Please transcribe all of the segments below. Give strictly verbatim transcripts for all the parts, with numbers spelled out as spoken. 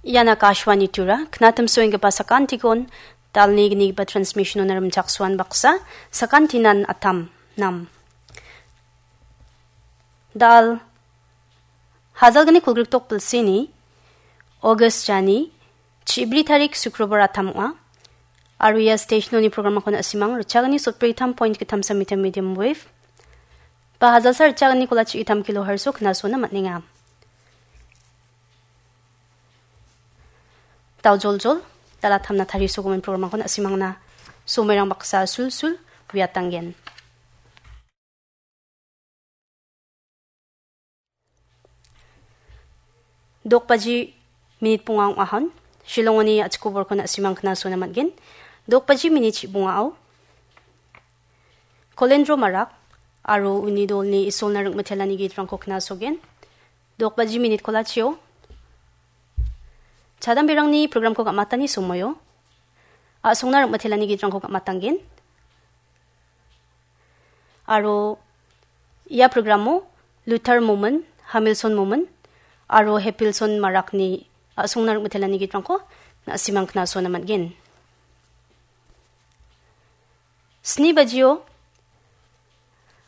Ian Akashvani Tura, knatim soenggipa sakantikon, dalni gnigipa transmission-ona rimchaksoan baksa, sakantinan atam, nam. Dal, hajalgni kolgrikdok bilsini, August jani, chibri tarik Sukrobar atam ong·a. Aro ia station-oni programako na·simang, richagni sotbri tam point gittam samitam medium wave. Ba hajalsa richagni kolachi itam kilohertz-o knasona man·enga. Dal joljol, dal atamna tarisogimin programko na·simangna somoirang baksa sulsul uiatanggen. Dokbaji minit bonga ong·ahon, Shillongoni a·chik koborko na·simang knasona man·gen. Dokbaji minit bongao, Kolendro Marak aro uni dolni Isolna ring·mitelani gitrangko knasogen. Dokbaji minit kolachio, chadamberangni programko gam·atani somoio, a·songna ring·mitelani gitrangko gam·atanggen. Aro ia programo Luther Momin, Hamilson Momin, aro Hepilson Marakni a·songna ring·mitelani gitrangko na·simang knasona man·gen. Sni bajio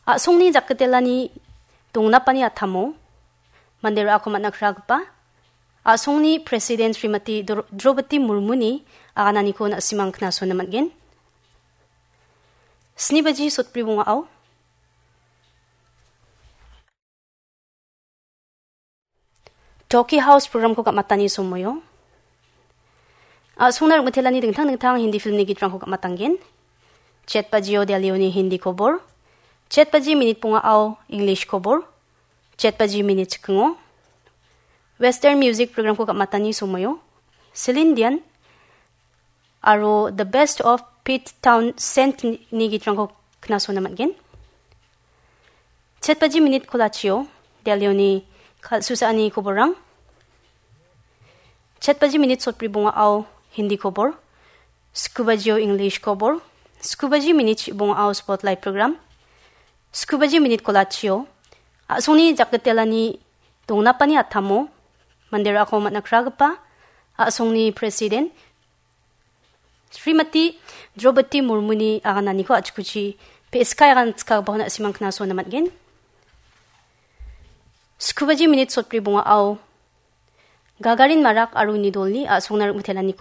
a·songni jakgitelani dongnapani atamo mande ra·ako man·a kragipa a·songni President Srimati Dro-, Draupadi Murmuni agananiko na·simang knasona man·gen. Sni baji sotbri bongao Talkie House programko gam·atani somoio, a·songna ring·mitelani dingtang dingtang Hindi filmni gitrangko gam·atanggen. Chet bajio Delhioni Hindi kobor, chet baji minit bongao English kobor, chet baji minit chikingo Western music programko gam·atani somoio, Celine Dion, aro The Best of Pete Townsend ni gitrangko knasona man·gen. Chet baji minit kolachio, Delhioni kal·susaani koborrang. Chet baji minit sotbri bongao Hindi kobor, sku bajio English kobor, sku baji minit bongao Spotlight program, sku baji minit kolachio, a·songni jakgitelani dongnapani atamo, mande ra·ako man·a kragipa, a·songni President, Srimati Draupadi Murmuni agananiko a·chikuchi P S K agan chikagipako na·simang knasona man·gen. Sku baji minit sotbri bongao Gagarin Marak aro uni dolni a·songna ring·mitelaniko